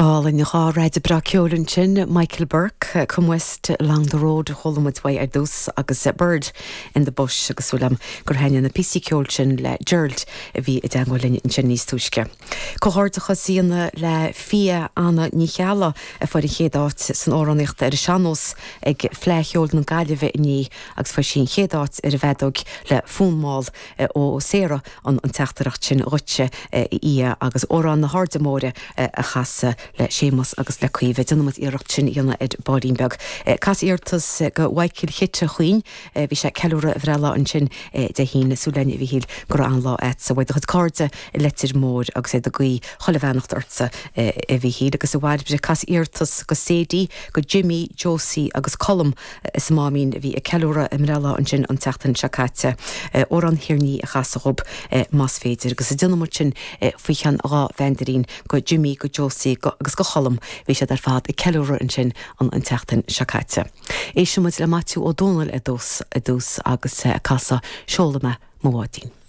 Go hálainn, 2 raideadh breá ceoil ansin, Michael Burke, Come West Along the Road a chuala muid uaidh ar dtús agus Bird in the Bush agus súil agam gur thaitnigh na píosaí ceoil sin le Gerald a bhí i dteangmháil linn ansin níos túisce. Comhghairdeachas a dhéanamh le Fia Anna Ní Cheallaigh a fuair an chéad áit san amhránaíocht ar an sean-nós ag Fleadh Cheoil na Gaillimhe inné agus fuair sí an chéad áit ar an bhfeadóg le Fonn Mall ó Sarah an teachtaireacht sin dhuitse, a Fhia, agus Amhrán na hAirde Móire a chasadh le Séamus agus le Caoimhe. Déanfaidh muid iarracht sin a dhéanamh ar baillín beag. Cas iarratas go Mhichael Chite chugainn. Bhí sé ag ceiliúradh a bhreithlá ansin Dé hAoine. Súil againn, a Mhichíl, go raibh an-lá a'dsa. Uaidh do chuid cairde i Leitir Móir agus iad ag guí chuile bheannacht ortsa, a Mhichíl. Agus a Bhairbre, cas iarratas go Sadie, go Jimmy, Josie agus Colm. is a Máimín a bhí ag ceiliúradh a mbreithlá ansin an tseachtain seo caite. Amhrán Thír an Fhia a chasadh dhób más féidir. Agus déanfaidh muid sin faoi cheann 2 bhandirín go Jimmy, go Josie agus go Cholm. Bhí siad ar fad ag ceiliúradh ansin an an tseachtain seo caite. Éistfidh muid le Maitiú Ó Dónaill ar dtús ar dtús agus ag casadh Seolfaidh mé mo bháidín.